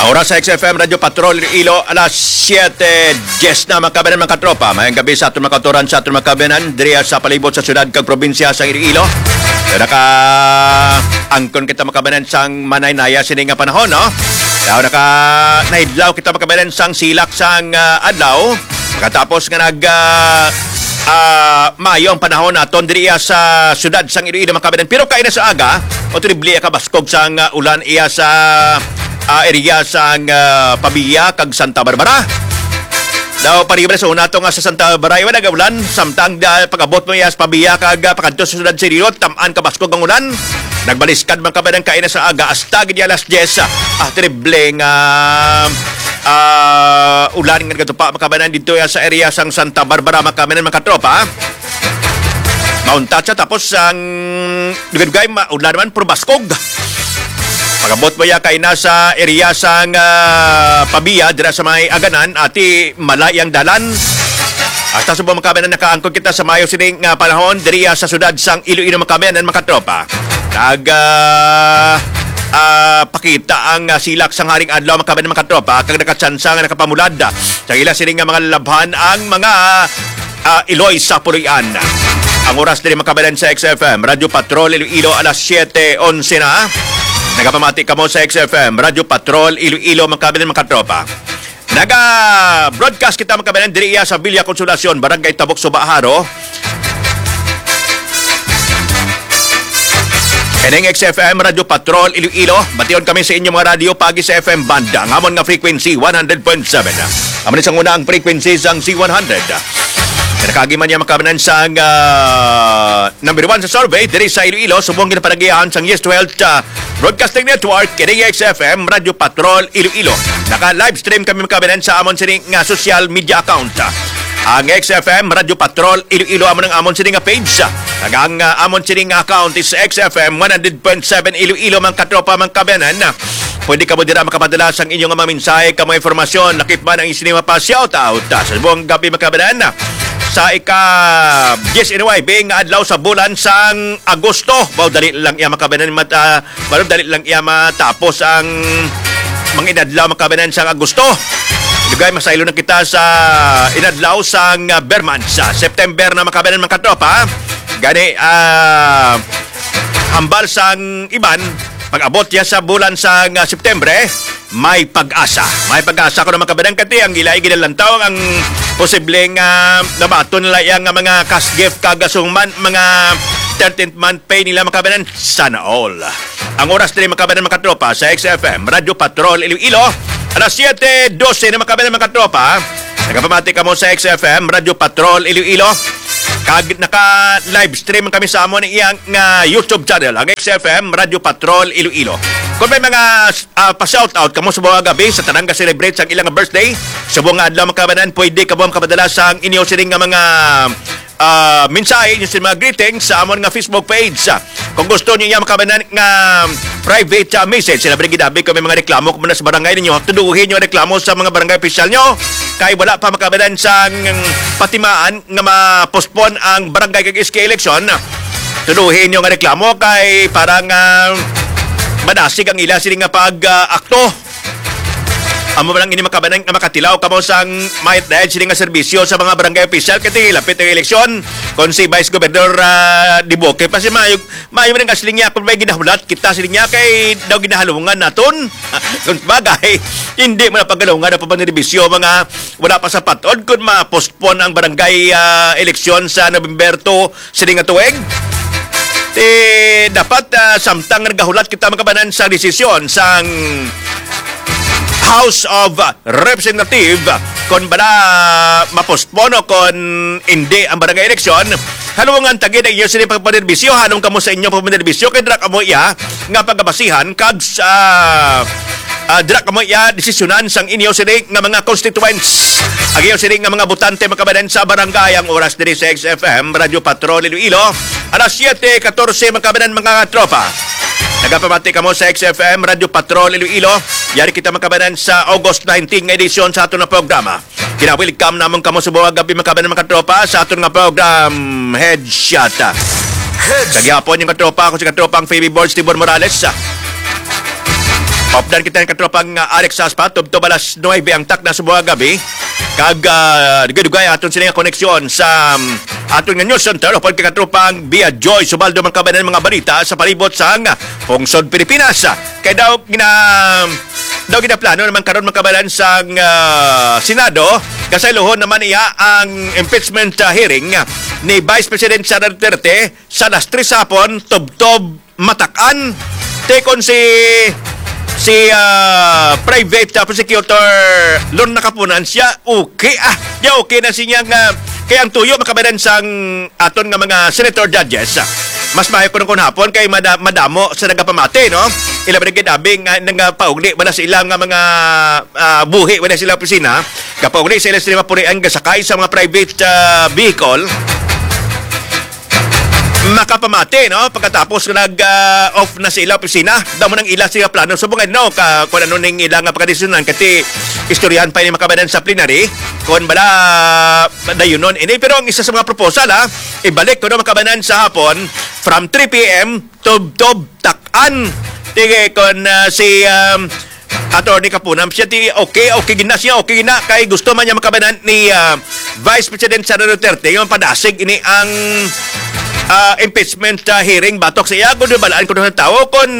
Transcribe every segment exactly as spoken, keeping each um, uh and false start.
Oras sa X F M Radyo Patrol Iloilo, alas siete diez na, mga kababayan, mga katropa. Mayang gabi sa aton mga kautoran, sa aton mga kababayan, diriya sa palibot sa syudad kag probinsya sa Iloilo. So, naka-angkon kita, mga kababayan, sang manaynaya sini nga panahon, no? Daw naka-, nahidlaw kita, mga kababayan, sang silak sang, ah, adlaw. Pagkatapos nga nag, ah, ah, maayo ang panahon naton diriya sa syudad sang Iloilo, mga kababayan. Pero kaina sa aga, o triple ka baskog sang, ah, ulan iya sa, ah, area sang, ah, Pavia kag Santa Barbara. Daw, pariba sa una to nga sa Santa Barbara, iwan nagaulan, samtang da, pag-abot mo iya sa Pavia kag, ah, pakadto sa syudad sa Iloilo, tam-an ka baskog ang ulan. Nagbaliskad man kababayan kaina sa aga, hasta gid alas diez, ah, triple nga, ah, ulan nga nagatupa, mga kababayan, dito ya sa area sang Santa Barbara, mga kababayan, mga katropa. Mauntat siya, tapos ang dugay-dugay, ma-, ulan naman, puro baskog. Pag-abot mo ya kay nasa area sang, ah, Pavia, dira sa may Aganan, ati malay ang dalan. Hasta sa mga kababayan, nakaangkon kita sa maayo sining, ah, panahon diriya sa syudad sang Iloilo, mga kababayan, mga katropa. Nag, ah, ah, pakita ang, ah, silak sang haring adlaw, mga kababayan, mga katropa, kag nakatsansa nga nakapamulad, ah, sa ila sini nga mga lalabhan ang mga, ah, iloy sa puloy-an. Ang oras diri, mga kababayan, sa X F M Radyo Patrol Iloilo, alas siete onse na. Nagapamati kamo sa X F M Radyo Patrol Iloilo, mga kababayan, mga katropa. Naga-broadcast kita, mga kababayan, diri iya sa Villa Consolacion, Barangay Tabok, Suba, Jaro. Ining X F M Radyo Patrol Iloilo. Bation kami sa inyo mga radyo paagi sa F M band, ang amon nga frequency, one hundred point seven. Amo ni sang una ang frequency sang Z one hundred. Nakaagi man niya, mga kababayan, sang, ah, number one sa survey diri sa Iloilo, subong ginapanagihan sang Yes to Health, ah, Broadcasting Network, kini X F M Radyo Patrol Iloilo. Naka-live stream kami, mga kababayan, sa amon sini nga social media account. Ang X F M Radyo Patrol Iloilo amo nang amon sini nga page. Kag ang, ah, amon sini nga account is X F M one hundred point seven Iloilo, mga katropa, mga kababayan. Pwede kamo dira makapadala sang inyong mga mensahe, kamo informasyon, lakip man ang isinima pa shout out. Sa buong gabi, mga kababayan, sa ika-dies nuebe nga adlaw sa bulan sang Agosto. Wow, dali lang iya, mga kababayan, mat-, ah, Pero dali lang iya matapos ang mga inadlaw, mga kababayan, sang Agosto. Dugay, masaylo na kita sa inadlaw sang, ah, Berman sa September na, mga kababayan, mga katropa. Gani, ah, hambal sang iban, pag-abot niya sa bulan sang, ah, September, may pag-asa. May pag-asa ko naman, kababayan, kati ang ila ginalantaw ang posibleng, ah, nabaton nila iya nga mga cash gift kag sungman, mga thirteenth month pay nila, mga kababayan. Sana all. Ang oras diri, mga kababayan, mga katropa, sa X F M Radyo Patrol Iloilo, alas siete dose na, mga kababayan, mga katropa. Nagapamati kamo sa X F M Radyo Patrol Iloilo. Kag naka-live stream kami sa amon iyang, ah, YouTube channel, ang X F M Radyo Patrol Iloilo. Kung may mga, ah, pa-shout out kamo sa buong gabi sa tanang ga-celebrate sang ilang birthday, sa buong adlaw, mga kababayan, pwede kamo makapadala sang inyo sining nga mga ah, mensahe, inyo sa mga greetings sa amon nga Facebook page. Kung gusto niyo iya makabanan nga private, ah, message, sila bali ginabi kung may mga reklamo kung muna sa barangay ninyo, tuduhin niyo ang reklamo sa mga barangay official niyo. Kay wala pa makabanan sang patimaan nga ma-postpone ang barangay kag S K election. Tuduhin niyo nga reklamo kay para nga madasig ang ila sini nga pag, ah, akto. Amo man ang ini makabanang nga makatilaw kamo sang mayat dayon sini nga serbisyo sa mga barangay official kay tingilapit ang eleksyon. Kon si Vice Governor, ah, Dibuque pa si Mayog, Mayo man ang siling niya kung may ginahulat kita siling niya kay daw ginahalungan naton. Kung bagay, hindi mo na paghalungan ang pagpanerbisyo mga wala pa sa patod kung ma-postpone ang barangay, ah, eleksyon sa November two, sini nga tuig, eh, dapat, ah, samtang nagahulat kita, mga kabanan, sa desisyon sang House of Representative, kon bala ma-postpone o kon hindi ang barangay eleksyon, halungan ta gid ang inyo sini pagpanerbisyo, halong kamo sa inyo pagpanerbisyo, kay dira kamo iya nga pagabasihan kag sa, ah, dira kamo iya desisyonan sang inyo sini nga mga constituents. Ang iyo sini nga mga botante, mga kabanan, sa barangay. Ang oras diri sa X F M Radyo Patrol Iloilo, alas siete katorse, mga kabanan, mga tropa. Nagapamati kamo sa X F M Radyo Patrol Iloilo. Yari kita, mga kabanan, sa August nineteen nga edisyon sa aton nga programa. Gina-welcome namon kamo sa buong gabi, mga kabanan, mga tropa, sa aton nga program, Headshot. Sa gihapon, yung katropa, ako si katropang Faby Borge Tibor Morales. Updan kita ni katropang, ah, Alex Saspa, tubtob alas nuwebe ang takna sa buong gabi. Kag, ah, dugay-dugay aton sini nga koneksyon sa, um, aton nga news center, upod kay katropang Bia Joy Subaldo, mga kabanan, mga balita sa palibot sang pungsod Pilipinas. Kay daw gina-, daw ginaplano naman karon, mga kabanan, sang, ah, Senado, kasaylohan naman iya ang impeachment, ah, hearing ni Vice President Sara Duterte sa alas tres hapon, tubtob matak-an. Tikon si, si, ah, private, ah, prosecutor Lorna Kapunan, siya okay, ah, siya okay na siya nga, kay ang tuyo, mga kabanan, sang aton nga mga senator judges, ah, mas maayo kuno kon hapon kay mada-, madamo sa nagapamati, no? Ila ba nagkidabing nga nagapaugli wala sa ilang nga mga, ah, buhi wala sa ilang opisina, kapaugli sa ilang sila mapurian gasakay sa mga private, ah, vehicle. Makapamati, no? Pagkatapos nga nag, ah, off na sa ila opisina, damo nang ila sila plano. So, mga, no, ka, kung ano ning ila nga pagkadesisyonan, kasi istoryahan pa ini, mga kabanan, sa plenary, kung bala dayunon ini. Pero ang isa sa mga proposal, ha, ibalik ko, no, mga kabanan, sa hapon, from three p m, tubtob tak-an. Sige, kung, ah, si, um, Attorney Kapunam, siya ti okay, okay gina siya, okay gina kay gusto man niya, mga kabanan, ni, ah, Vice President Sara Duterte yung padasig ini ang, ah, impeachment, ah, hearing batok sa iya. Kung balaan ko ng tao kung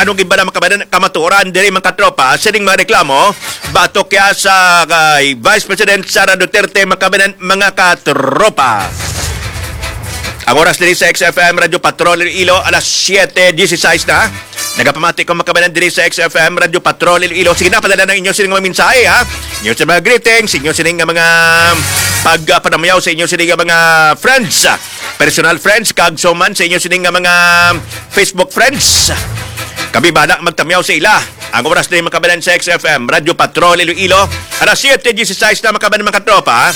anong gibala, mga kabanan, kamatuoran diri, mga katropa, sining mga reklamo batok kaya sa kay Vice President Sara Duterte, mga kabanan, mga katropa. Ang oras diri sa X F M Radyo Patrol Iloilo, alas siyete dieciséis na. Nagapamati ko, mga kabanan, diri sa X F M Radyo Patrol Iloilo. Sige na, padala ng inyo sining mga mensahe, ha? Inyo sa mga greetings, inyo sining nga mga pagpanamayaw sa inyo sining nga mga friends, personal friends, kag so man sa inyo sining nga mga Facebook friends. Kami bala magtamyaw sa ila. Ang oras na yung, mga kabanan, sa X F M Radyo Patrol Iloilo. Alas siyete dieciséis na, mga kabanan, mga katropa, ha?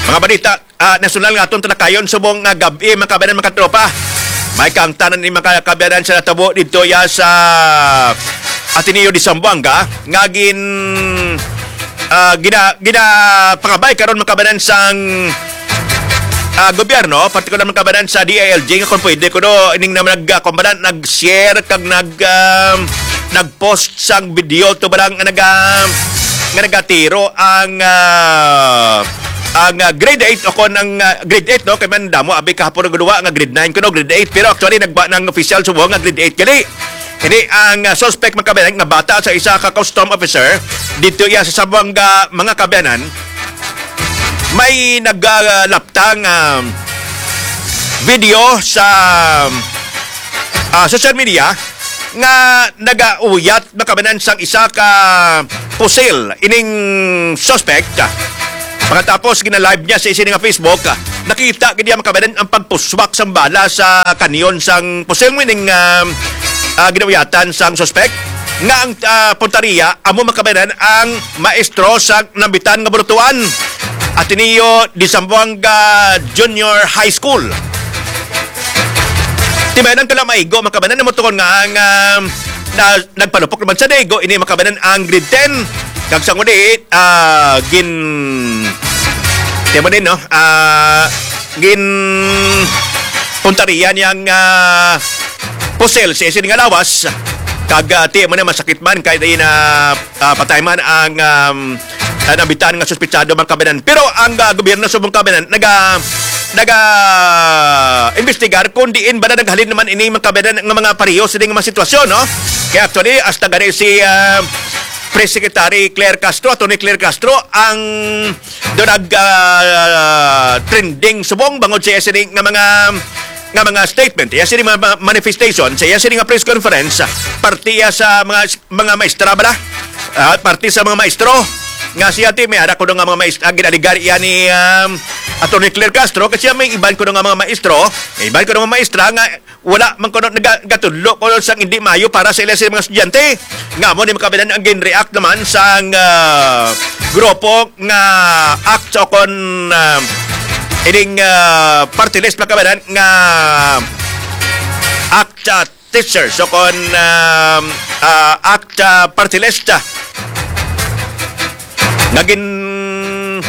Mga balita, ah, nasyonal nga atong talakayon subong nga gab-i, mga kabanan, mga katropa. May kaangtanan ni, mga kabanan, sa natabo dito ya sa Ateneo de Zamboanga nga gin, ah, gina-, ginapangabay karon, mga kabanan, sang, ah, gobyerno, partikular, mga kabanan, sa D I L G, nga kung pwede kuno ining na nag, ah, kumbaga, nag-share kag nag, um, nag-post sang video to barang nga naga-, nga nagatiro ang, ah, ang, ah, grade eight o kon ang, ah, grade eight, no? Kay man damo abi kahapon nagduwa nga grade nine kuno, grade eight, pero actually nagba ng official subo nga grade eight gali. Ini ang, ah, suspect, mga kabanan, nga bata sa isa ka custom officer dito iya sa Zamboanga, mga kabanan. May nagalaptang, ah, video sa, ah, social media nga nagauyat, mga kabanan, sang isa ka pusil ining suspect. Pagkatapos gina-live niya sa isa nga Facebook, nakita gid niya, mga kabanan, ang pagpuswak sang bala sa kanyon sang pusil, meaning, ah, ah, ginauyatan sang suspect nga ang, ah, puntaria amo, mga kabanan, ang maestro sa Nambitan nga Burutuan, Ateneo de Zamboanga Junior High School. Timanan ka lang maigo, mga kabanan, na mo tukon nga ang, ah, na, nagpalupok naman sa daigo ini, mga kabanan, ang grade ten. Kag sa ngudi, ah, gin-, timanin, no? Ah, gin-, puntarian yang, ah, pusil sa isin nga lawas. Kag, ah, ti mo na masakit man kay di na, ah, patay man ang, um, ah, nabitan nga suspitsado, mga kabanan. Pero ang, ah, gobyerno sa mga kabanan naga, naga investigar kung diin ba na naghalin naman ini, mga kabanan, nga mga pareho sa mga sitwasyon, no? Kaya actually, hasta gani si, ah, Press Secretary Claire Castro, Attorney Claire Castro, ang do nag, ah, trending subong bangod sa iya sini nga mga, nga mga statement, iya sini mga ma-, manifestation, sa iya sini nga press conference, parte iya sa mga, mga maestra bala, ah, parte sa mga maestro nga siya ti may ara kuno nga mga maestra, ang ginaligar iya ni, um, Attorney Claire Castro, kasi may iban kuno nga mga maestro, may iban kuno nga maestra nga wala man kuno naga-, gatudlo kuno sang hindi maayo para sa ila sa mga estudyante. Nga mo ni, mga kabanan, ang gin-react naman sang, ah, grupo nga act o kon, ah, ining, ah, party list, mga kabanan, nga act, ah, teachers o kon, ah, ah, act, ah, party list, ah, nga gin-,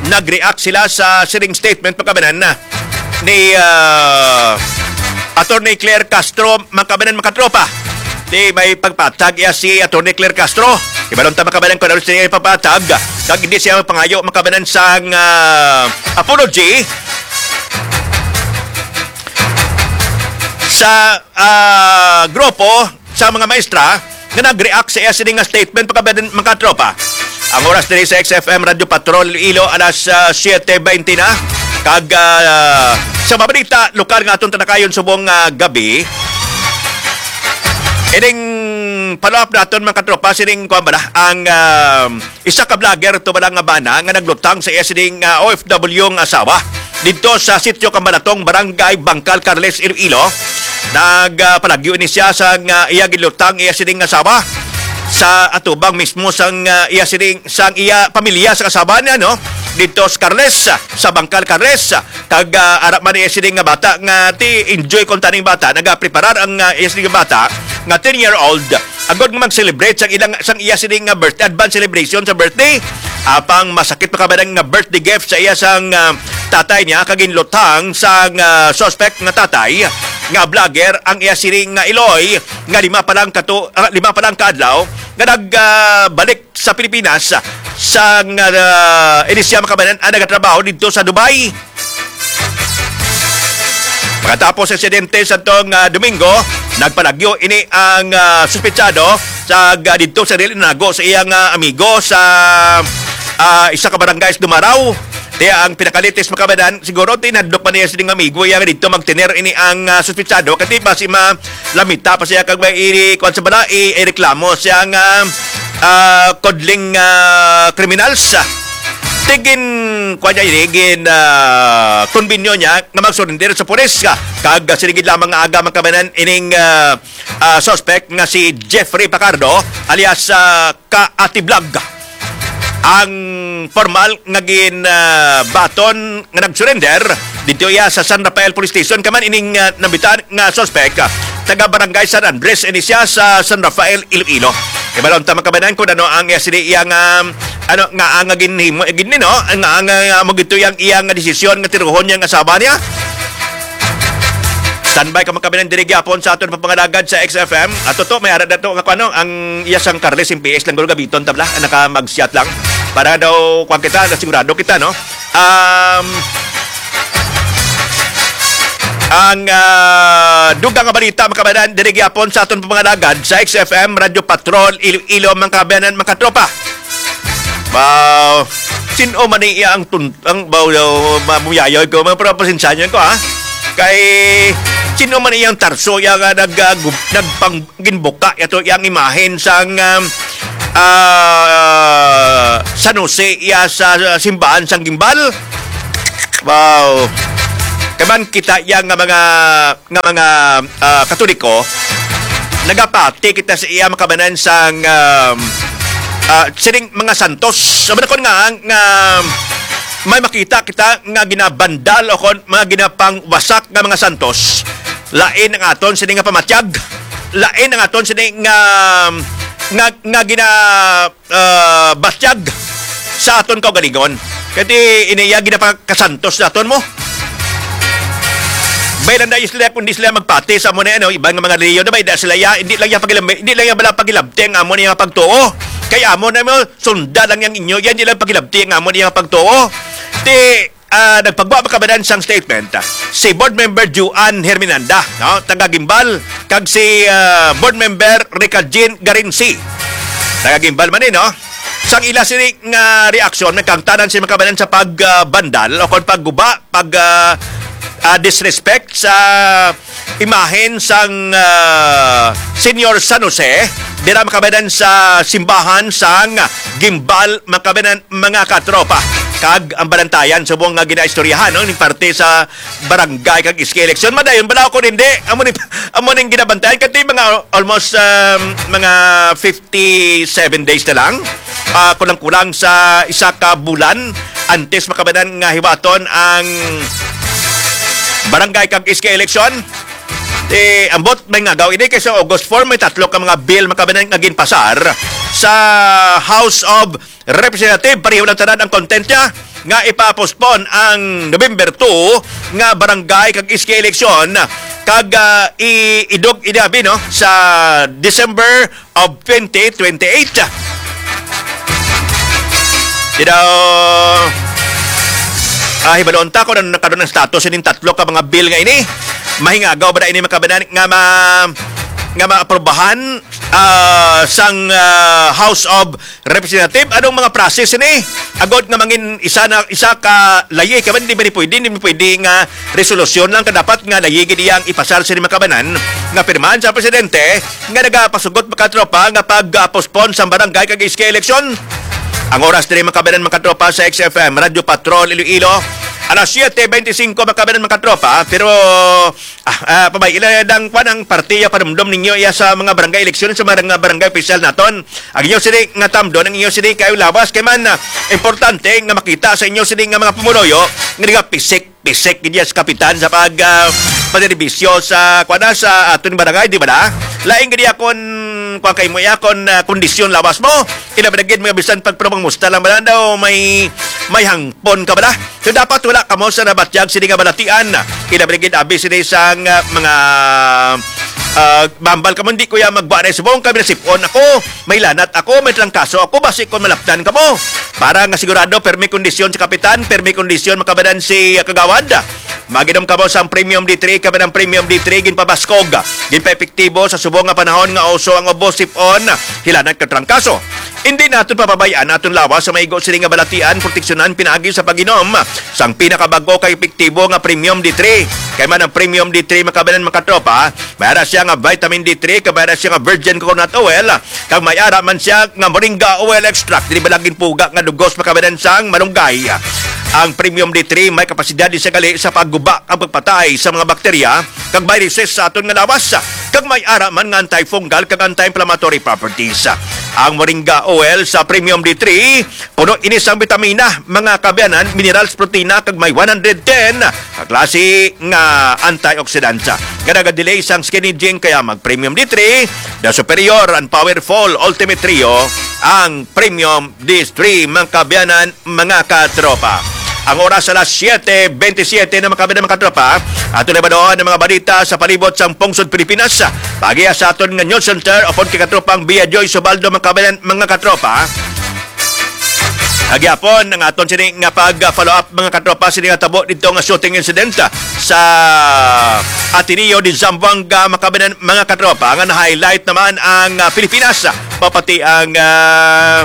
nag-react sila sa sining statement, mga kabanan, ni, ah, Attorney Claire Castro, mga kabanan, mga katropa. Ti may pagpatag iya si Attorney Claire Castro. Ibalon ta, mga kababayan, kung ano siya ipapatag. Kag hindi siya pangayo, mga kababayan, sang, ah, apology sa, ah, grupo sa mga maestra nga nag-react sa iya sini nga statement, mga kababayan, mga katropa. Ang oras diri sa X F M Radio Patrol Iloilo, alas, ah, siete veinte na. Kag, ah, sa mga balita lokal nga aton talakayon subong, ah, gabi, ining follow-up naton, mga katropa, sining kuwan bala, ang, ah, isa ka vlogger to bala nga bana nga naglutang sa iya sining, ah, O F W nga asawa didto sa Sitio Kambalatong, Barangay Bangkal, Carles, Iloilo. Nagpalagyo ni siya sang, ah, iya ginlutang iya sining asawa sa atubang mismo sang, ah, iya sining, sang iya pamilya, sang asawa niya, no, didto sa Carles, sa Bangkal, Carles. Kag, ah, ara man iya sining nga bata nga ti enjoy kon taning bata, nagapreparar ang, ah, iya sining nga bata nga ten year old agod nga mag-celebrate sang ilang, sang iya sining nga birthday, advance celebration sa birthday. Apang masakit pa kabadan nga birthday gift sa iya sang, ah, tatay niya kag ginlutang sang, ah, suspect nga tatay nga vlogger ang iya sining nga iloy nga lima pa lang kato, ah, lima pa lang ka adlaw nga nag, ah, balik sa Pilipinas sang, ah, ini siya, mga kababayan, ang nagatrabaho didto sa Dubai. Pagkatapos sa insidente sa tong, ah, Domingo, nagpalagyo ini ang, ah, suspetsado sa, ah, didto sa dili nago sa iyang, ah, amigo sa, ah, isa ka barangay sa Dumarao. Kaya ang pinakalitis, mga kababayan, siguro tinadlok pa niya sining amigo iya nga didto magtener ini ang, ah, suspetsado. Kati pa si ma lamita pa siya kag may iri kuan sa bala, i-, ireklamo siya nga, ah, kudling, ah, criminals. Tigin kuan niya ini, gin, ah, konbinyo niya nga mag-surrender sa pulis ka. Kag, ah, sining gid lamang nga aga, mga kababayan, ining, ah, ah, suspect nga si Jeffrey Pacardo alias, ah, ka Ate Vlog ang formal nga gin, ah, baton nga nag-surrender dito iya sa San Rafael Police Station. Kaman ining, ah, nabitan nga suspect, ah, taga Barangay San Andres ini siya sa San Rafael, Iloilo. Ibalon ta, mga kababayan, kung ano ang iya sini iya nga, ano nga ang ginhimo, eh, gini, no? Ang, ang, ang, amo gito yang iya nga desisyon nga tiruhon niya ang asawa niya. Standby ka, mga kababayan, diri gyapon sa aton papangalagad sa X F M. Ato to, may ara na to nga kuno ang iya sang Carles M P S lang, gulo gabiton tabla, ang naka mag-shot lang. Para daw kuwan kita, na sigurado kita, no? Um, ang, ah, dugang nga balita, mga kababayan, diri gyapon sa aton papangalagad sa X F M Radio Patrol Iloilo, mga kababayan, mga katropa. Ba, sin-o man iya ang tun-, ang, ba, ba, mamuyayoy ko, mga, pero pasensyahan ko, ha? Kay, sin-o man iyang tarso, iya nga nag-, ah, gu-, nagpang-, ginbuka, ito iyang imahen sang, um, ah, San Jose, iya sa, sa simbahan sang Gimbal? Wow. Kaman kita iya nga mga nga mga, ah, Katoliko, nagapati kita sa iya, mga kababayan, sang, um, ah, sining mga santos. Sa manakon nga, nga may makita kita nga ginabandal o kon mga ginapangwasak nga mga santos, lain ang aton sini nga pamatyag, lain ang aton sini nga, nga, nga gina-, ah, batyag sa aton kaugalingon. Kay ti iniya ginapakasantos naton mo. Bay lang dayon sila, kung di sila magpati sa amo na, ano, iban nga mga reliyon na bay, da sila ya, hindi lang ya pagilab-, hindi lang ya bala pagilabti ang amo niya pagtuo. Kay amo na mo, sunda lang yang inyo, yan, hindi lang pagilabti ang amo niya pagtuo. Ti, ah, nagpagwa, mga kababayan, sang statement, ah, si Board Member Juan Herminanda, no, taga Gimbal, kag si, ah, Board Member Rica Jean Garinsi, taga Gimbal man, eh, no? Sang ila sini nga reaksyon, nagkangtanan si, mga kababayan, sa pag, ah, bandal o kon pagguba, pag, ah, ah, disrespect sa imahen sang, ah, Señor San Jose, dira, mga kababayan, sa simbahan sang Gimbal, mga kababayan, mga katropa. Kag ang balantayan subong nga ginaistoryahan, no, ni parte sa barangay kag S K election. Madayon bala ako nindi. Amo ni, amo ning ginabantayan. Kati mga almost, um, mga fifty-seven days na lang. Ah, kulang-kulang sa isa ka bulan antes, mga kababayan, nga hiwaton ang barangay kag S K election. Eh, ambot may ngagaw ini kay sa August four may tatlo ka mga bill, mga kababayan, nga ginpasar sa House of Representative. Pareho lang tanan ang content niya. nga ipa-postpone ang November two nga barangay kag S K election kag, ah, i-, idog ini abi, no, sa December of twenty twenty-eight. Di daw, ah, hibalon ta kung ano na karon ang status ining tatlo ka mga bill nga ini. Mahingagaw ba na ini, mga kababayan, nga ma-, nga maaprobahan, ah, sang, ah, House of Representative? Anong mga process ini? Agod nga mangin isa na, isa ka layi, kay man di man pwede, di man pwede nga resolusyon lang ka dapat nga layi gid iyang ipasar sa mga kababayan nga pirmahan sa presidente nga nagapasugot, mga katropa, nga pag-postpone sa barangay kag S K election. Ang oras diri, mga kababayan, mga katropa, sa X F M Radyo Patrol Iloilo, alas siete bente singko, mga kababayan, mga katropa, pero ah, ah, pabay, ila dang kwan ang partiya panumdom ninyo iya sa mga barangay eleksyon, sa mga barangay opisyal naton. Ang inyo sini nga tamdon, ang inyo sini kayo lawas kay man, ah, importante nga makita sa inyo sini nga mga pumuloyo nga nagapisik-pisik gid sa kapitan sa pag, ah, pagserbisyo sa, kwan na, sa aton barangay, di ba na? Lain gid akon, kwan kay mo, akon, ah, kondisyon lawas mo. Ila ba na gid mga bisan pagpurong musta lang ba na daw may, may hangpon ka ba na? So, dapat wala kamo sa nabatyag sini nga balatian. Ilabi gid abi sini sang, ah, mga, ah, mambal kamo, "Hindi ko ya magwa na subong kami nasipon ako, may lanat ako, may trangkaso ako, basi kon malapdan kamo." Para nga sigurado, permi kondisyon sa kapitan, permi kondisyon, mga kababayan, si, ah, kagawad. Maginom kamo sang Premium D three, kami ng Premium D three, ginpabaskog, ginpaepektibo sa subong nga panahon nga uso ang ubo, sipon, hilanat kag trangkaso. Hindi naton papabayaan aton lawas sa maigo sini nga balatian, proteksyonan pinaagi sa pag-inom sang pinakabago kag epektibo nga Premium D three. Kay man ang Premium D three, mga kababayan, mga katropa, may ara siya nga vitamin D three, kag may ara siya nga virgin coconut oil, kag may ara man siya nga moringa oil extract. Dili ba laging puga nga dugos, mga kababayan, sang malunggay? Ang Premium D three may kapasidad ni sa gali sa pagguba ang pagpatay sa mga bakterya kag viruses sa aton nga lawas, kag may ara man nga antifungal kag anti-inflammatory properties. Ang moringa oil sa Premium D three, puno ini sang bitamina, mga kababayan, minerals, protina, kag may one hundred ten ka klase nga antioxidants nga nagadelay sang skin aging, kaya mag Premium D three, the superior and powerful ultimate trio, ang Premium D three, mga kababayan, mga katropa. Ang oras alas siete bentisiete na, mga kababayan, mga katropa. Ato na ba doon ang mga balita sa palibot sang pungsod Pilipinas? Pagiya sa aton nga news center, upod kay katropang Bia Joy Subaldo, mga kababayan, mga katropa. Agyapon ang aton sini nga pag-follow up, mga katropa, sini nga tabo dito nga shooting incident sa Ateneo de Zamboanga, mga kababayan, mga katropa, nga na-highlight naman ang, ah, Pilipinas, pa-, pati ang, ah,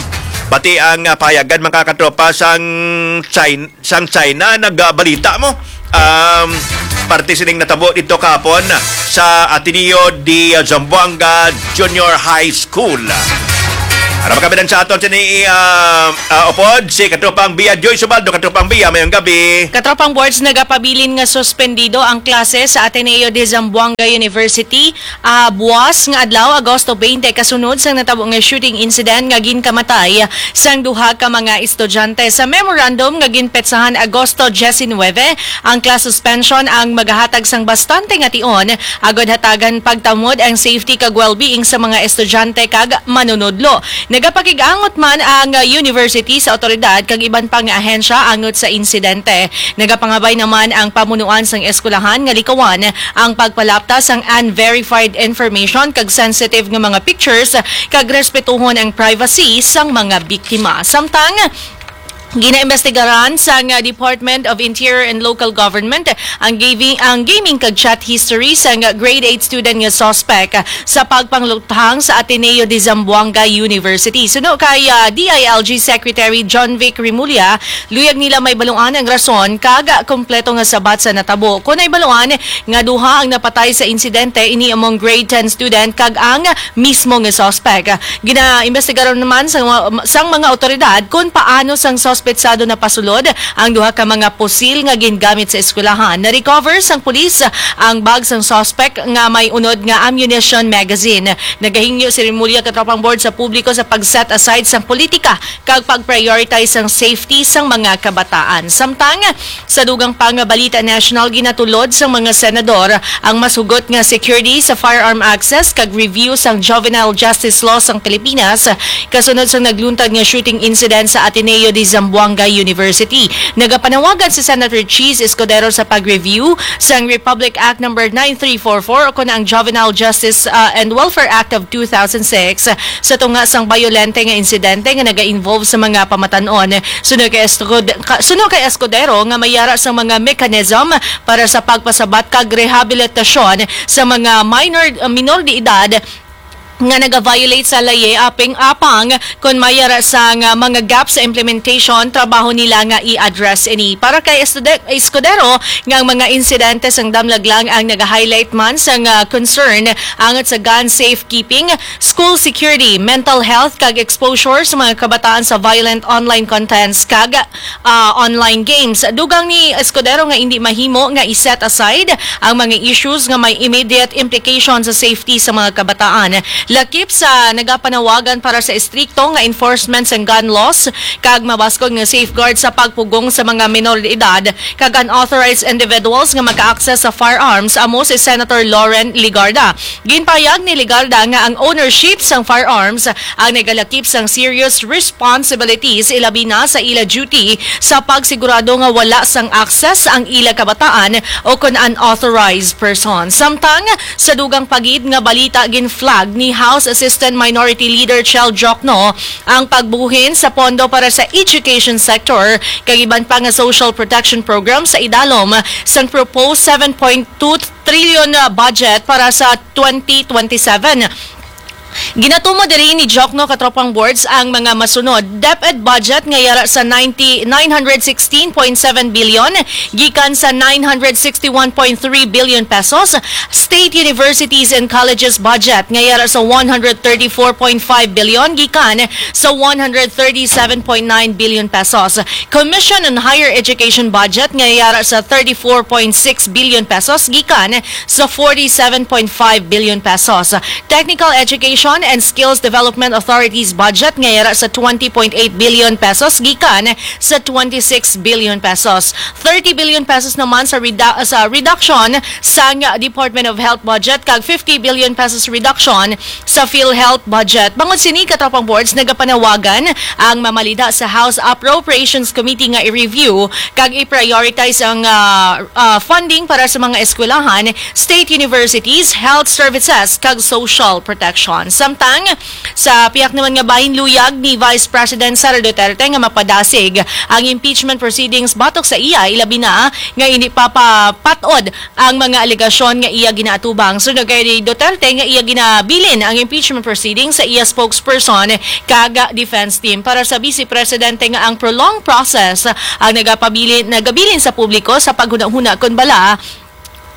pati ang, ah, pahayagan, mga katropa, sang China, sang China, nagbalita mo. Um, parte sining natabo dito kahapon sa Ateneo de Zamboanga Junior High School. Ano ba kami sa aton sini, ah, ah, upod? Si Katropang Bia Joy Subaldo. Katropang Bia, mayong gabi. Katropang Boards, nagapabilin nga suspendido ang klase sa Ateneo de Zamboanga University, ah, buwas nga adlaw, Agosto twenty, kasunod sang natabo nga shooting incident nga ginkamatay sang duha ka mga estudyante. Sa memorandum nga ginpetsahan Agosto diecinuebe, ang class suspension ang magahatag sang bastante nga tion agod hatagan pagtamod ang safety kag well-being sa mga estudyante kag manunodlo. Nagapakig-angot man ang, uh, university sa awtoridad kag iban pa nga ahensya angot sa insidente. Nagapangabay naman ang pamunuan sang eskwelahan nga likawan ang pagpalapta sang unverified information kag sensitive nga mga pictures kag respetuhon ang privacy sang mga biktima. Samtang ginaimbestigaran sang, uh, Department of Interior and Local Government ang gaming, ang gaming kag chat history sang grade eight student nga suspect sa pagpangluthang sa Ateneo de Zamboanga University. Suno kay, uh, D I L G Secretary John Vic Remulla, luyag nila mahibaluan ang rason kag kompleto nga sabat sa natabo. Kon nahibaluan nga duha ang napatay sa insidente, ini among grade ten student kag ang mismo nga suspect. Ginaimbestigaron naman sa, sang mga awtoridad kon paano sang suspetsado napasulod ang duha ka mga pusil nga gingamit sa eskwelahan. Na-recover sang pulis ang bag sang suspect nga may unod nga ammunition magazine. Nagahingyo si Remulla, Katropang Board, sa publiko sa pag-set aside sang politika kag pag-prioritize sang safety sang mga kabataan. Samtang sa dugang pa nga balita national, ginatulod sang mga senador ang mas hugot nga security sa firearm access kag review sang juvenile justice law sang Pilipinas, kasunod sang nagluntad nga shooting incident sa Ateneo de Zamboanga. Zamboanga University. Nagapanawagan si Senator Chiz Escudero sa pag-review sang Republic Act Number nine three four four o kon ang Juvenile Justice, uh, and Welfare Act of two thousand six sa tunga sang bayolente nga insidente nga naga-involve sa mga pamatan-on. Suno kay Escud-, ka-, suno kay Escudero nga may yara sa mga mechanism para sa pagpasabat kag rehabilitasyon sa mga minor, uh, minor de edad nga naga-violate sa laye aping apang kon may yara sang, uh, mga gap sa implementation, trabaho nila nga i-address ini. Para kay Estude-, Escudero, nga ang mga insidente sang damlag lang ang naga-highlight man sang, uh, concern angat sa gun safekeeping, school security, mental health, kag exposure sa mga kabataan sa violent online contents kag, uh, online games. Dugang ni Escudero nga hindi mahimo nga i-set aside ang mga issues nga may immediate implication sa safety sa mga kabataan. Lakip sa nagapanawagan para sa estrikto nga enforcement sang gun laws kag mabaskog nga safeguard sa pagpugong sa mga minor de edad kag unauthorized individuals nga maka-access sa firearms, amo si Senator Loren Legarda. Ginpahayag ni Legarda nga ang ownership sang firearms ang nagalakip sang serious responsibilities, ilabi na sa ila duty sa pagsigurado nga wala sang access ang ila kabataan o kon unauthorized person. Samtang sa dugang pa gid nga balita, gin-flag ni House Assistant Minority Leader Chel Diokno ang pagbuhin sa pondo para sa education sector kag iban pa nga social protection program sa idalom sang proposed seven point two trillion budget para sa twenty twenty-seven. Ginatumo diri ni Diokno, katropang boards, ang mga masunod: DepEd budget nga yara sa ninety, nine hundred sixteen point seven billion, gikan sa nine hundred sixty-one point three billion pesos; State Universities and Colleges budget nga yara sa one hundred thirty-four point five billion, gikan sa one hundred thirty-seven point nine billion pesos; Commission on Higher Education budget nga yara sa thirty-four point six billion pesos, gikan sa forty-seven point five billion pesos; Technical Education and Skills Development Authorities budget nga yara sa twenty point eight billion pesos, gikan sa twenty-six billion pesos; thirty billion pesos naman sa redu-, sa reduction sang Department of Health budget, kag fifty billion pesos reduction sa PhilHealth budget. Bangod sini, katropang boards, nagapanawagan ang mamalida sa House Appropriations Committee nga i-review kag i-prioritize ang, ah, ah, funding para sa mga eskwelahan, state universities, health services, kag social protection. Samtang sa pihak naman nga bahin, luyag ni Vice President Sara Duterte nga mapadasig ang impeachment proceedings batok sa iya, ilabi na nga hindi pa papat-od ang mga alegasyon nga iya ginaatubang. Suno kay Duterte nga iya ginabilin ang impeachment proceedings sa iya spokesperson kag defense team. Para sa Vice Presidente nga ang prolonged process ang nagapabilin, nagabilin sa publiko sa paghunahuna kon bala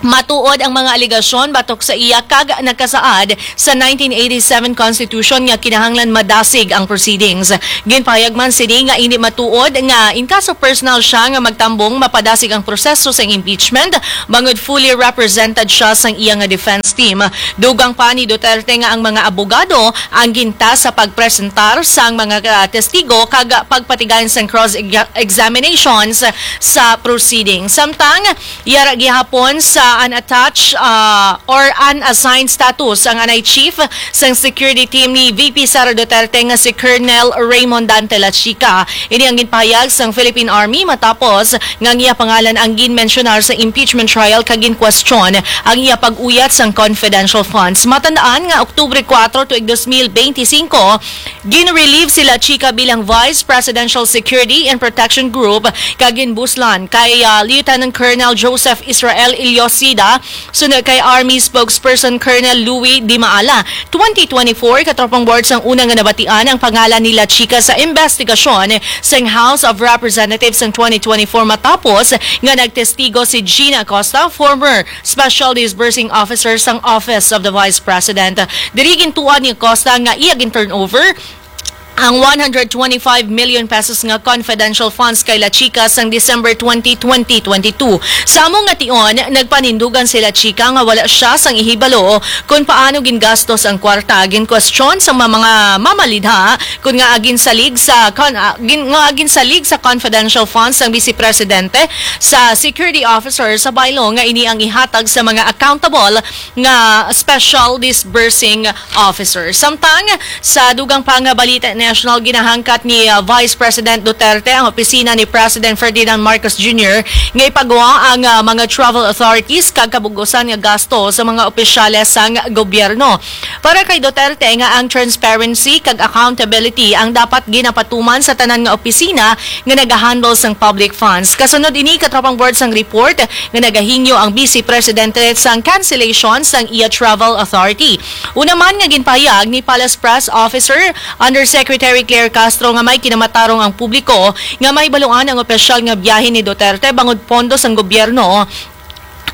matuod ang mga alegasyon batok sa iya kag nagkasaad sa nineteen eighty-seven Constitution nga kinahanglan madasig ang proceedings. Ginpahayag man sini nga hindi matuod nga in case personal siya nga magtambong, mapadasig ang proseso sang impeachment, bangod fully represented siya sang iya nga defense team. Dugang pa ni Duterte nga ang mga abogado ang gintask sa pagpresentar sang mga, ah, testigo kag pagpatigayon sang cross-examinations sa proceeding. Samtang yara gihapon sa unattached, ah, or unassigned status ang anay chief sang security team ni V P Sara Duterte nga si Colonel Raymond Dante Lachica. Ini ang ginpahayag sang Philippine Army matapos nga ang iya pangalan ang ginmensyonar sa impeachment trial kag ginkwestiyon ang iya pag-uyat sang confidential funds. Matandaan nga Oktubre kuwatro tuig dos mil benti singko, gin-relieve si Lachica bilang Vice Presidential Security and Protection Group kag ginbuslan kay, ah, Lieutenant Colonel Joseph Israel Ilyosida, suno kay Army Spokesperson Colonel Louis Dimaala. Twenty twenty-four, katropang boards, ang una nga nabatian ang pangalan ni Lachica sa investigasyon sang House of Representatives sang twenty twenty-four matapos nga nagtestigo si Gina Acosta, former Special Disbursing Officer sang Office of the Vice President. Diri gintuan ni Acosta nga iya gin-turnover ang one hundred twenty-five million pesos nga confidential funds kay Lachica sang December twenty, twenty twenty-two. Sa amo nga tion, nagpanindugan si Lachica nga wala siya sang ihibalo kon paano gingastos ang kwarta. Ginkwestiyon sa mga, mga mamalidha kon ngaa ginsalig sa kon-, ah, gin-, ngaa ginsalig sa confidential funds ang Vice Presidente sa security officer sa baylo nga ini ang ihatag sa mga accountable nga special disbursing officer. Samtang sa dugang pa nga balita na National, ginahangkat ni, ah, Vice President Duterte ang opisina ni President Ferdinand Marcos Junior nga ipagawa ang, ah, mga travel authorities kag kabug-usan nga gasto sa mga opisyales sang gobyerno. Para kay Duterte nga ang transparency kag accountability ang dapat ginapatuman sa tanan nga opisina nga nagahandle sang public funds. Kasunod ini, katropang board, sang report nga nagahingyo ang Vice Presidente sang cancellation sang iya travel authority. Una man nga ginpahayag ni Palace Press Officer Undersecretary Claire Castro nga may kinamatarong ang publiko nga mahibaluan ang opisyal nga biyahe ni Duterte bangod pondo sang gobyerno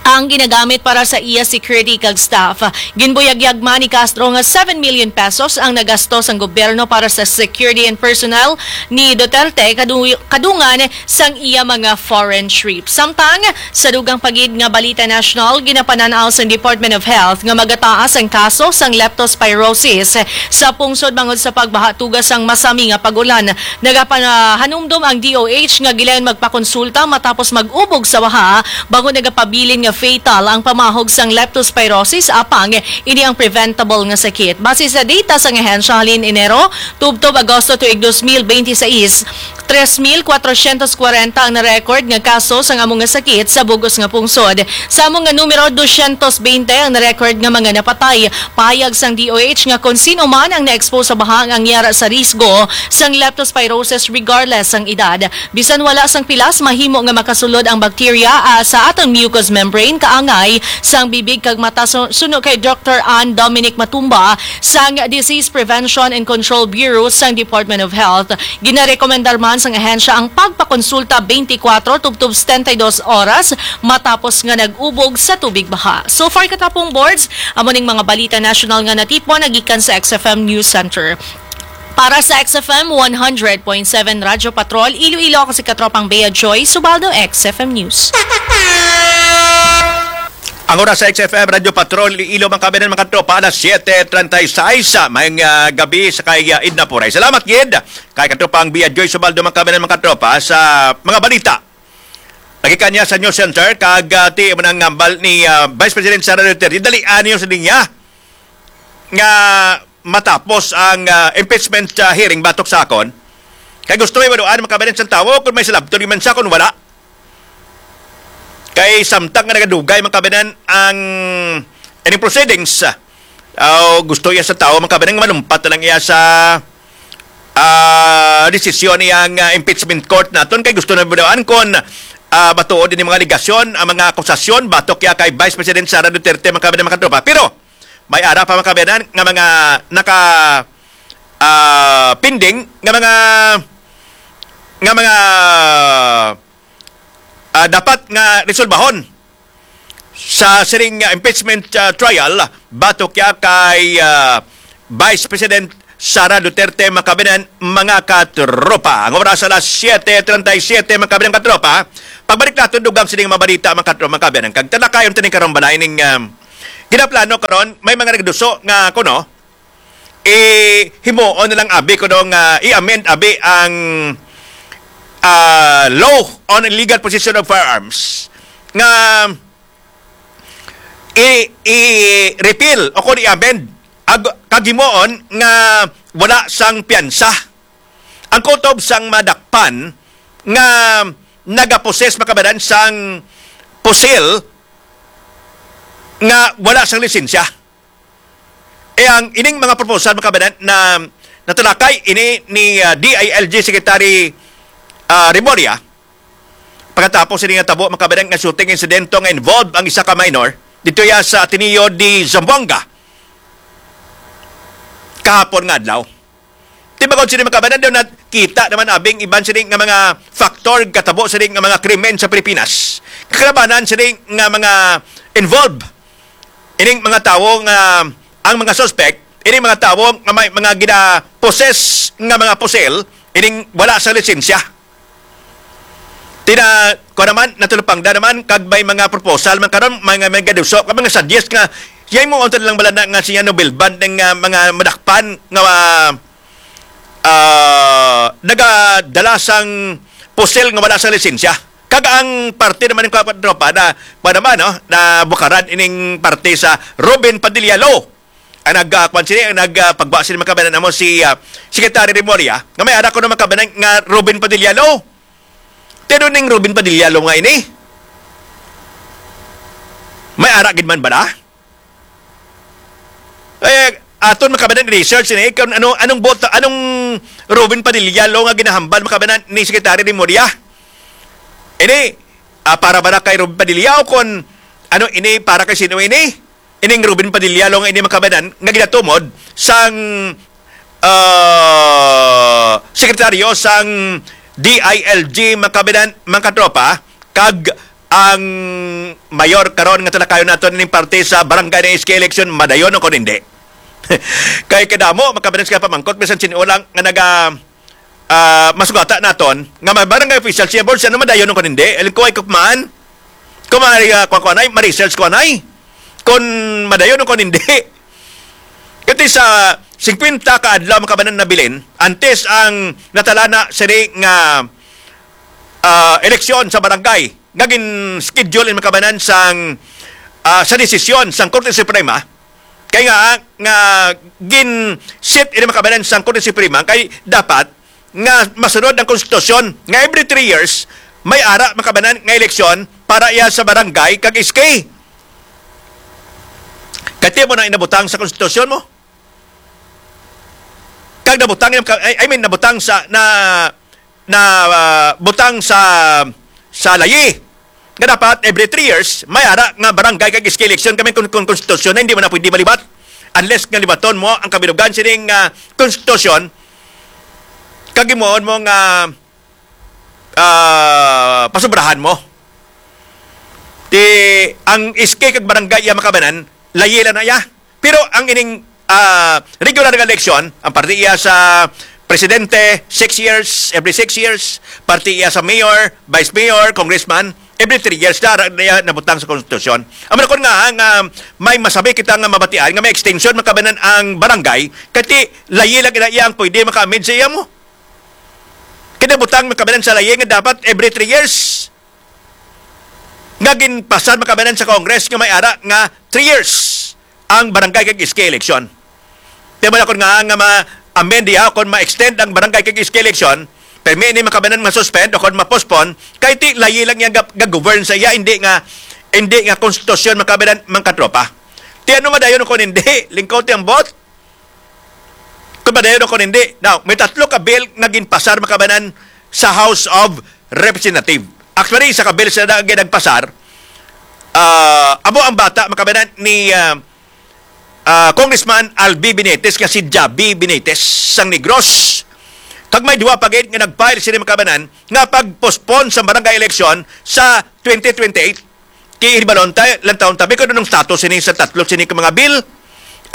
ang ginagamit para sa iya security kag staff. Ginbuyagyag man ni Castro nga seven million pesos ang nagasto sang gobyerno para sa security and personnel ni Duterte kadu- kadungan sang iya mga foreign trips. Samtang sa dugang pa gid nga balita nasyonal, ginapanan-aw sang Department of Health nga magataas ang kaso sang leptospirosis sa pungsod bangod sa pagbaha tungod sang masami nga pag-ulan. Nagapahanumdom ang D O H nga gilayon magpakonsulta matapos mag-ubog sa baha, bangod nagapabilin nga fatal ang pamahog sang leptospirosis, apang ini ang preventable nga sakit. Base sa data sang ahensya halin Enero tubtob Agosto tuig dos mil benti sais, tres mil kwatrosyentos kwarenta ang na-record nga kaso sang amo nga sakit sa bug-os nga pungsod. Sa amo nga numero, dosyentos bente ang na-record nga mga napatay. Pahayag sang D O H nga kon sino man ang na-expose sa baha ang yara sa risgo sang leptospirosis regardless sang edad. Bisan wala sang pilas, mahimo nga makasulod ang bakterya, ah, sa aton mucous membrane, kaangay sang bibig kag mata su-, suno kay Doktor Ann Dominic Matumba sang Disease Prevention and Control Bureau sang Department of Health. Ginarekomendar man sang ahensya ang pagpakonsulta twenty-four tubtob setenta y dos oras matapos nga nag-ubog sa tubig baha. So far, katapong boards, amo ning mga balita nasyonal nga natipon nagikan sa X F M News Center. Para sa X F M one hundred point seven Radyo Patrol, Iloilo, ako si Katropang Bea Joy Subaldo, X F M News. Ang oras sa X F M Radyo Patrol, Iloilo, mga kabayan, mga katropa, alas siete treinta y seis, ah, may, ah, gabi sa kay, ah, Edna Puray. Salamat gid kay Katropang Bea Joy Subaldo, mga kabayan, mga katropa, sa mga balita. Nagikan niya sa News Center, kag, ah, ti mo nang ngambal ni, ah, Vice President Sara Duterte, dali anyo sa niya nga matapos ang, ah, impeachment, ah, hearing batok sa akon. Kay gusto may maduan, mga kabayan, sang tawo kung may salabton man siya, kung wala. Kay samtang nga nagadugay, mga kabayan, ang ining proceedings, ah, gusto iya sa tawo, mga kabayan, nga malumpat na lang iya sa, ah, desisyon iyang, ah, impeachment court naton. Kay gusto na maduan kung, ah, matuod ini mga alegasyon, ang mga akusasyon batok iya kay Vice President Sara Duterte, mga kabayan, mga katropa. Pero may ara pa, mga kabayan, nga mga naka, ah, pending nga mga, nga mga, ah, dapat nga resolbahon sa sining, ah, impeachment, ah, trial batok ya kay, ah, Vice President Sara Duterte, mga kabayan, mga katropa. Ang oras alas siete treinta y siete, mga kabayan, katropa. Pagbalik naton dugang sining mga balita, mga katropa, mga kabayan. Kag talakayon tani karon balay ning, ah, ginaplano karon, may mga nagduso nga kuno, eh, himuon na lang abi kuno nga i-amend abi ang, ah, law on illegal possession of firearms nga i, i-repeal o kung i-amend ag, kag himuon nga wala sang piyansa ang kutob sang madakpan nga nagaposes, mga kabayan, sang pusil nga wala sang lisensya. Eh, ang ining mga proposal, mga kabayan, na natalakay ini ni, ah, D I L G Secretary, ah, Remulla, pagkatapos ini nga tabo, mga kabayan, nga shooting insidente nga involved ang isa ka minor dito ya sa Ateneo de Zamboanga kahapon nga adlaw. Tibagon sini, mga kabayan, daw nakita naman abing iban sini nga mga factor katabo sini nga mga krimen sa Pilipinas. Kalabanan sini nga mga involved ining mga tawo nga ang mga suspect, ining mga tawo nga may mga gina-possess nga mga pusil, ining wala sa lisensya. Tina, ko naman, natulupangda naman, kag may mga proposal man karon, may nga may gaduso, kag mga suggest nga, yay mo unta lang bala na nga siya no bilban ng, ah, mga madakpan nga, ah, ah, nagadala sang pusil nga wala sa lisensya. Kag ang parte naman ng katropa na, pa naman, no, na bukaran ining parte sa Robin Padilla Law. ang nag, ah, kwan sini, ang nag, ah, pagwa sini, mga kababayan, amo si, ah, Secretary Remulla, nga may ara ko na, mga kababayan, nga Robin Padilla Law. Pero ning Robin Padilla Law nga ini, may ara gid man bala? Eh, aton, mga kababayan, research ini kung ano, anong bota, anong Robin Padilla Law nga ginahambal, mga kababayan, ni Secretary Remulla. Ini, ah, para ba na kay Robin Padilla o kon ano ini, para kay sino ini? Ining Robin Padilla Law nga ini, mga kababayan, nga ginatumod sang, ah, sekretaryo sang D I L G, mga kababayan, mga katropa, kag ang mayor karon nga talakayon nato ning parte sa barangay na S K election, madayon o kon hindi. Kay kadamo, mga kababayan, sa pamangkot, bisan sin-o lang nga naga, ah, masugata naton nga may barangay official siya, board, siya no madayon kon hindi. Alam ko ay kukmaan. Kung may, ah, kuwan, kuwan ay, ma-research, kuwan ay, kung madayon kon hindi. Kati sa singkwenta ka adlaw, mga kababayan, nabilin, antes ang natalana sini nga, ah, eleksyon sa barangay nga gin-schedule in, mga kababayan, sang, ah, sa desisyon sang Korte Suprema, kay nga, nga gin-set ini, mga kababayan, sang Korte Suprema, kay dapat nga masunod ang konstitusyon nga every three years may ara, mga kababayan, nga eleksyon para iya sa barangay kag S K. Kati mo na inabutang sa konstitusyon mo? Kag nabutang yung, I, I mean, nabutang sa, na, na, ah, butang sa, sa layi nga dapat every three years may ara nga barangay kag S K election kami kung, kung konstitusyon na hindi man na pwede malibat unless nga libaton mo ang kabilugan sining, ah, konstitusyon kag himuon mo nga, ah, pasubrahan mo. Ti ang S K kag barangay iya, mga kababayan, layi lang na iya. Pero ang ining, ah, regular nga eleksyon, ang parte iya sa presidente, six years, every six years, parte iya sa mayor, vice mayor, congressman, every three years na, na iya nabutang sa konstitusyon. Amo na kon nga, nga may masabi kita nga mabatian, nga may extension, mga kababayan, ang barangay, kati layi lang na iya ang pwede maka-amend sa iya mo. Kinabutang, mga kababayan, sa layi nga dapat every three years nga ginpasar, mga kababayan, sa Congress nga may ara nga three years ang barangay kag S K election. Kaya mo na kon nga, nga ma-amend diha o kon ma-extend ang barangay kag S K election, permi ini, mga kababayan, ma-suspend o kon ma-postpone, kay ti layi lang yang gag-, gag-govern sa iya, hindi nga, hindi nga konstitusyon, mga kababayan, mga katropa. Ti ano madayon kon hindi, lingkod ti ang bot? Kung madayon kon hindi. Now, may tatlo ka bill nga ginpasar, mga kababayan, sa House of Representative. Actually, isa ka bill sila na ginagpasar, ah, amo ang bata, mga kababayan, ni, ah, ah, Congressman Albi Benitez nga si Javi Benitez sang Negros. Kag may duha pa gid nga nag-file sini, mga kababayan, nga pag-postpone sa barangay election sa twenty twenty-eight. Kay ibalon ta, lantawon ta, kung anong status sini sa tatlo sini ka mga bill,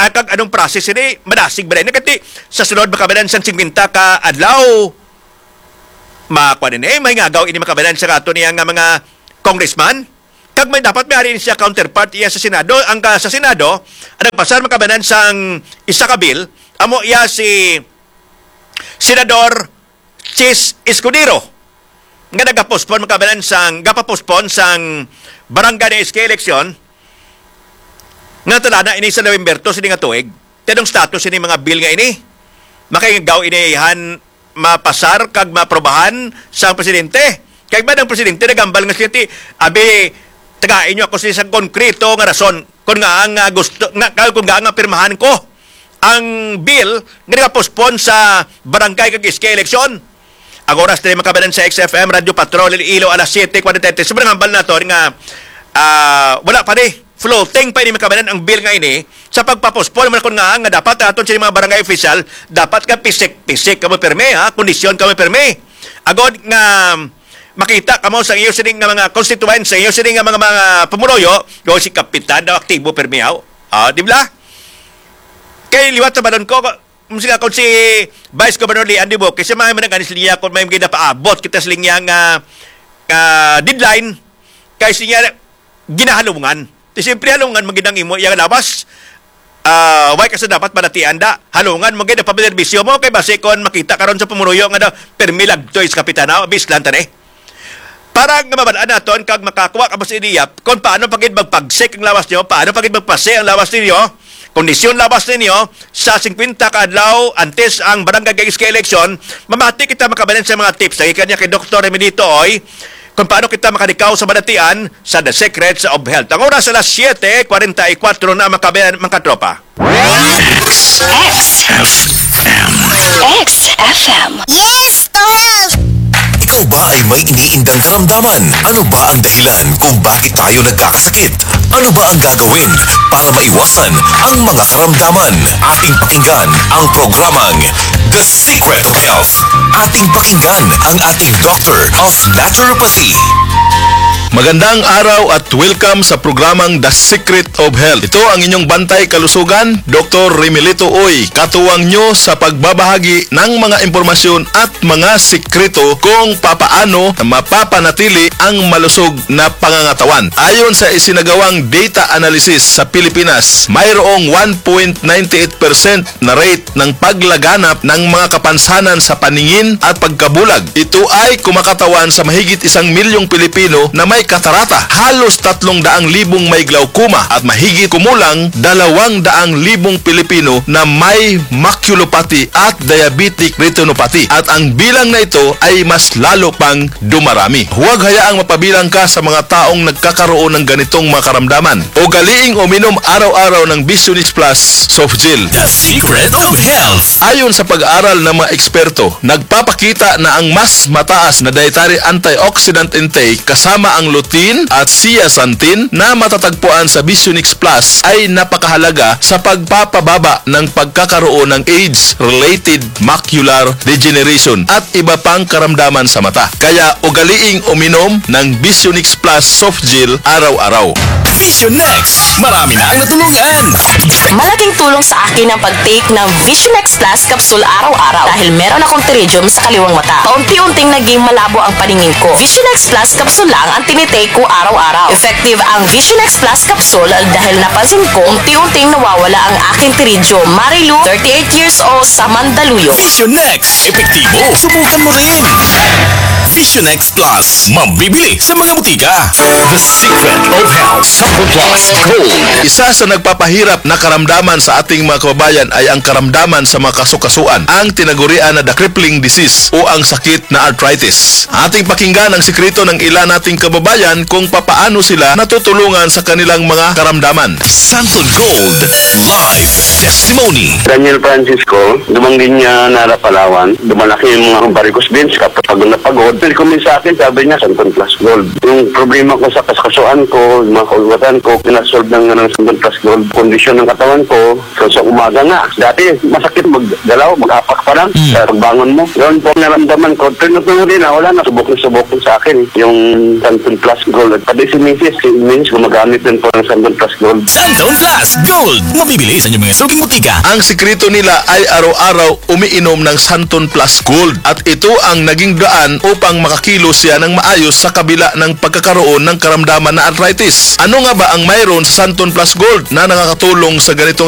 ah, kag anong process sini, madasig ba rin? Kati sa sunod, mga kababayan, sang singkwenta ka adlaw, makuha din eh, may ngagaw ini, mga kababayan, sa ato niya nga mga congressman. Kag may dapat may ari siya counterpart iya sa Senado. Ang ka, sa Senado, ang nagpasar, mga kababayan, sang isa ka bill, amo iya si Senador Chiz Escudero nga nagapospon, mga kababayan, sang, gapapospon sang barangay na S K election nga talana ini sa November two sini nga tuig. Ti anong status ini mga bill nga ini? Makaigaw ini han mapasar kag maaprobahan sang presidente? Kay ba ang presidente nagambal nga siya ti, abi, tagai niyo ako sa isang konkreto nga rason kung nga ang, ah, gusto nga, kung nga nga pirmahan ko ang bill nga nagapospon sa barangay kag S K election. Ang oras diri, mga kababayan, sa X F M Radyo Patrol Iloilo, alas siyete kwarenta y tres. Sobrang hambal nato nga, ah, wala pa ni, floating pa ini, mga kababayan, ang bill nga ini sa pagpapospon man kon nga, nga dapat aton sini mga barangay official dapat ka pisik-pisik kamo pirmi, ha, kondisyon kamo pirmi. Agod nga makita kamo sa iyo sini nga mga constituents, sa iyo sini nga mga, mga pumuloyo, go si Kapitan daw aktibo pirmi, ha. Ah, di ba? Kay liwat sa balon ko, kung sila, kung si Vice Governor Leanne Duque, siya may manang anis niya kung may ginapaabot kita sa linya nga, nga deadline, kay siya ginahalungan. Ti siyempre halungan man gid ang imo iyang lawas. Ah, way ka sa dapat balatian da. Halungan man gid ang pagserbisyo mo kay basi kon makita karon sa pumuloyo nga daw permi lagtoy sa kapitanaw, bislan ta ni. Para nga mabal-an naton kag makakuha ka sa ideya kung paano pa gid magpagsik ang lawas niyo, paano pa gid magpasi ang lawas ninyo, kondisyon lawas ninyo sa singkwenta ka adlaw antes ang barangay kag S K election, mamati kita makabanan sa mga tips lagi kanya kay Doktor Remelito Uy kung paano kita makalikaw sa balatian sa The Secrets of Health. Ang oras alas siyete kwarenta y kuwatro na, makabanan, mga katropa. X F M. X F M. Yes, to health! Ikaw ba ay may iniindang karamdaman? Ano ba ang dahilan kung bakit tayo nagkakasakit? Ano ba ang gagawin para maiwasan ang mga karamdaman? Ating pakinggan ang programang The Secret of Health. Ating pakinggan ang ating Doctor of Naturopathy. Magandang araw at welcome sa programang The Secret of Health. Ito ang inyong bantay kalusugan, Doktor Remelito Uy, katuwang nyo sa pagbabahagi ng mga impormasyon at mga sikreto kung papaano mapapanatili ang malusog na pangangatawan. Ayon sa isinagawang data analysis sa Pilipinas, mayroong one point nine eight percent na rate ng paglaganap ng mga kapansanan sa paningin at pagkabulag. Ito ay kumakatawan sa mahigit isang milyong Pilipino na may katarata, halos tatlong daang libong may glaucoma, at mahigit kumulang dalawang daang libong Pilipino na may maculopathy at diabetic retinopathy. At ang bilang na ito ay mas lalo pang dumarami. Huwag hayaang mapabilang ka sa mga taong nagkakaroon ng ganitong mga karamdaman. Ugaliing uminom araw-araw ng Visionix Plus Soft Gel. The Secret of Health. Ayon sa pag-aaral ng mga eksperto, nagpapakita na ang mas mataas na dietary antioxidant intake kasama ang lutein at zeaxanthin na matatagpuan sa Visionix Plus ay napakahalaga sa pagpapababa ng pagkakaroon ng age-related macular degeneration at iba pang karamdaman sa mata. Kaya ugaliing uminom ng Visionix Plus Soft Gel araw-araw. Vision X, marami na ang natulungan. Malaking tulong sa akin ang pag-take ng Vision X Plus Capsule araw-araw dahil meron akong pterygium sa kaliwang mata. Paunti-unting naging malabo ang paningin ko. Vision X Plus Capsule lang ang tinitake ko araw-araw. Effective ang Vision X Plus Capsule dahil napansin ko unti-unting nawawala ang aking pterygium. Marilu, thirty-eight years old, sa Mandaluyong. Vision X, epektibo. Subukan mo rin. Vision X Plus, mabibili sa mga butika. The Secret of Health, Sample Plus Gold. Isa sa nagpapahirap na karamdaman sa ating mga kababayan ay ang karamdaman sa mga kasukasuan, ang tinagurian na the crippling disease o ang sakit na arthritis. Ating pakinggan ang sikreto ng ila nating kababayan kung papaano sila natutulungan sa kanilang mga karamdaman. Santon Gold Live Testimony. Daniel Francisco, dumang din niya nara Palawan. Dumalaki yung mga varicose veins, kapag napagod. Nag-comment sa akin, sabi niya, Santon Plus Gold. Yung problema ko sa kaskasuan ko, yung mga kaugatan ko, pinasolve ng, ng Santon Plus Gold. Kondisyon ng katawan ko, so sa umaga nga. Dati, masakit maggalaw, mag-apak pa lang. Mm. Sa pagbangon mo. Yun po, naramdaman ko, pero nung din, wala na, subok na subok sa akin yung Santon Plus Gold. At pati si Misis, si Misis gumagamit din po ng Santon Plus Gold. Santon Plus Gold! Mabibili sa inyong mga suking butika. Ang sikreto nila ay araw-araw umiinom ng Santon Plus Gold at ito ang naging daan upang makakilos siya ng maayos sa kabila ng pagkakaroon ng karamdaman na arthritis. Ano nga ba ang mayroon sa Santon Plus Gold na nakakatulong sa ganitong